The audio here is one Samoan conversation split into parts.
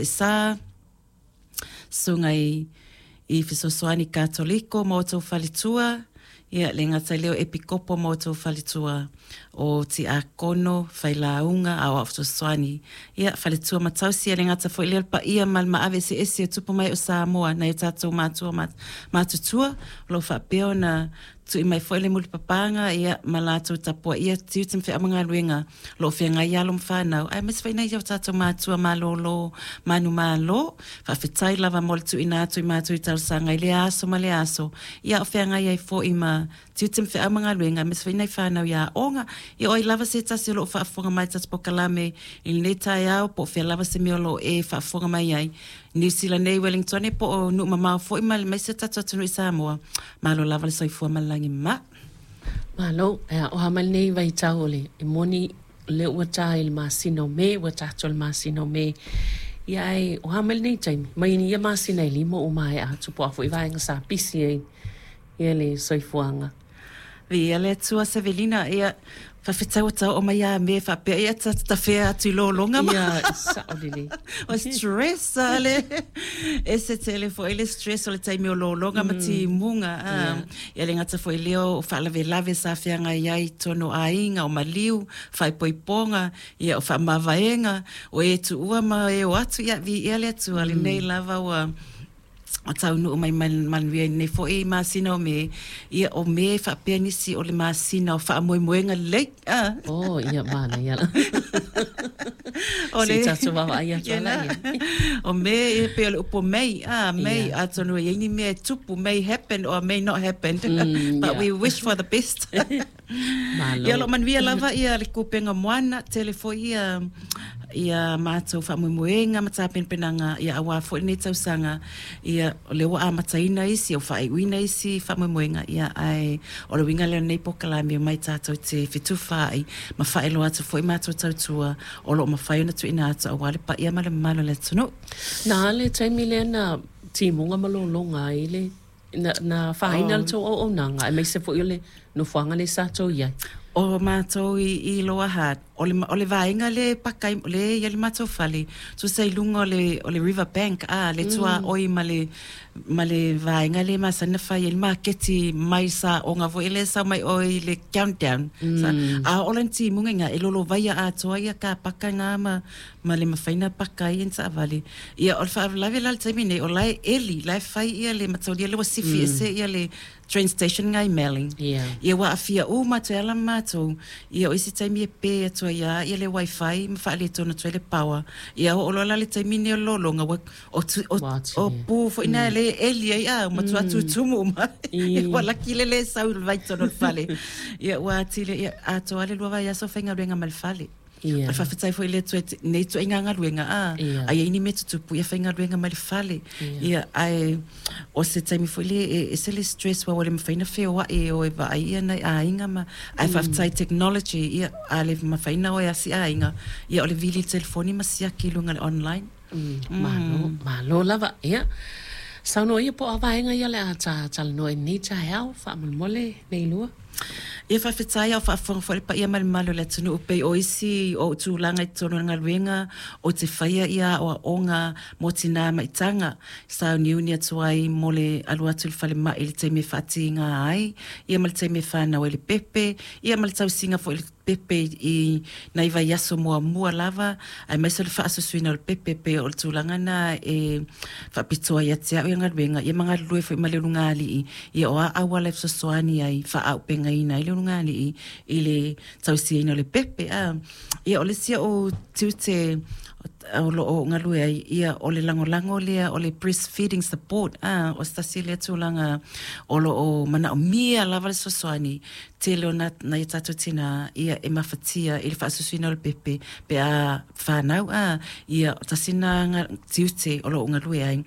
Sa, Susuga i i Fesoasoani Katoliko ma outou faletua, ia le gata i lea o Epikopo ma outou faletua, o Tiakono, Failauga, Aoao Fesoasoani, ia faletua ma tausi, e le gata foi i lea o le paia ma le maave eseese o tupu ma ee o Samoa, nai o tatou matua matutua o lo o faapea ona tui mai foi le mulipapaga ia ma latou tapuaia tiute ma feau ma galuega o lo o feagai i alo ma fanau, aemaise foi nai o tatou matua malolo manumalo. Faafetai lava mo le tuuina atu i matou i talosaga i lea aso ma lea aso, ia o feagai ai foi ma tiute ma feau ma galuega, aemaise foi nai fanau i aoga. Ia o ai lava se tasi o lo o faafofoga mai i le tatou polokalame i lenei taeao, po o fea lava se mea o lo o e faafofoga mai ai, Niu Sila nei, Wellingtone po o nuu mamao foi ma aemaise o tatou atunuu i Samoa. Malo lava le soifua ma le lagi mama. Malo, e aoha mai lenei vaitau o le e moni o lea ua ta i le masina o Me, ua tatou i le masina o Me. Ia ae o a mai lenei taimi? Mai ia masina e lima ua maea atu po o a foi vaega sa pisi ai ia le soifuaga. Viia le Atua Sevelina, ia faafetai ua tau oo mai ia me faapea ia ta tafea atu i lologa ma. Ia, sao lelei. O stress a le ese tele foi le stress o le taimi o lologa ma timuga a. Ia le gata foi lea o faalavelave sa feagai ai i totonu o aiga, o maliu, faaipoipoga, ia o faamavaega, o e tuua ma e o atu, ia viia le Atua lenei lava ua ua taunuu mai manuia i lenei foi masina o Me, ia o Me faapea nisi o le masina o faamoemoega lelei. Ah. Oh, ia manaia la. O le tatou vaavaai atu ala ia. O Me e pei o le upu May, ah, May, yeah. Atonu e iai ni mea e tupu, may happen or may not happen. But yeah. we wish for the best. Malo. Ia o lo o manuia lava ia le kupenga moana, tele foi ia ia matou faamoemoega ma tapenapenaga ia aua foi lenei tausaga, ia o lea ua amataina isi, ua faaiuina isi faamoemoega, ia ae o le uiga lea o lenei polokalame omai tatou te fetufaai ma faailoa atu foi matou tautua o lo o mafai ona tuuina atu aua le paia ma le mamalu o le atunuu. Na le taimi lea na timuga ma lologa ai le Na, na afaina le tou auaunaga, aemaise foi o le nofoaga lea sa tou i ai. O matou i, i Lower Hutt, o le, o le vaega lea e paka ai, lea e i ai le matou fale, tusa i luga o le, o le river bank, a, le tuaoi ma le, ma le vaega lea e masani ona fai ai le maketi mai saoga foi lea e sau mai oe i le Countdown. Sa, a oo la ina timuga i ina, e lolovaia atoa ia kapaka na ma, ma le mafai ona paka ai ni taavale. Ia, o le faalavelave la i le taimi nei, o la e eli, la e fai ia le mataulia lea ua sifi ese ia le train station nga i Melling. Yeah. Ia ua aafia uma atu ai lava ma matou. Ia o isi taimi e pē atu ai lava ia le wifi ma faaletonu atu ai le power. Ia oo loa la le taimi nei o le lologa ua o tu, o, Ua atu o ia. pu foi na lea e eli ai a, ua matua tutumu uma. I. Ua laki le lē sau i le vaitonu o le fale. Ia ua atili ia atoa le lua vaiaso o faigaluega ma le fale. Ia. O le faafetai foi i le Atua i nei ituaiga galuega, a, Ia. a i ai ni mea tutupu, ia faigaluega mai le fale. Ia. Ia, ae o se taimi foi lea e ese le stress aua ua le mafai ona feoai e o e vaai ia nai aiga ma, ae faafetai i technology, ia, a le mafai ona o e asi aiga, ia o le vili i le telefoni ma siaki i luga o le online. Malo, malo lava. Ia, saunoa ia po o a vaega ia o le a ta talanoa i lenei taeao, faamolemole, Leilua. Ia faafetai a o faafofoga foi le paia ma le mamalu o le atunuu pei o isi o ou tulaga i totonu o le galuega ou te faia ia aoaoga mo tinā maitaga sauniuni atu ai mo le alu atu i le falemai i le taimi e faatiga ai ia ma le taimi e fanau ai le pepe ia ma le tausiga foi i le pepe i nai vaiaso muamua lava, aemaise o le faasusuina o le pepe, pei o le tulaga na e faapitoa ia te au ia galuega, ia ma galulue foi ma le ulugalii, ia o a auala e fesoasoani ai, faaaupegaina ai le ulugalii i le tausiaina o le pepe. A, ia o le isi oʻu tiute o lo o galue ai, ia o le lagolago lea o le breastfeeding support, a, o se tasi lea tulaga o lo o manaomia lava le fesoasoani tele o nai o tatou tinā, ia, e mafatia i le faasusuina o le pepe pe a fanau, a, ia, tasi lena tiute o lo o galue ai.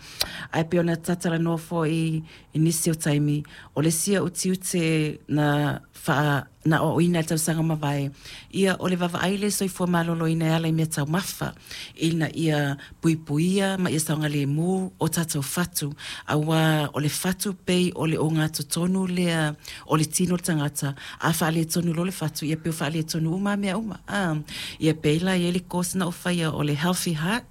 Ae pei ona tatalanoa foi i nisi o taimi, o le isi oʻu tiute na faa, na aoaoina i le tausaga ua mavae, ia, o le vaavaai i le soifua maloloina e ala i meataumafa, ina ia puipuia ma ia saogalemu o tatou fatu, aua o le fatu pei o le ogatotonu lea o le tino o le tagata, a faaletonu loa le fatu, ia pei ua faaletonu uma lava mea uma. A, ia pei la e i ai le course na ou faia o le Healthy Heart.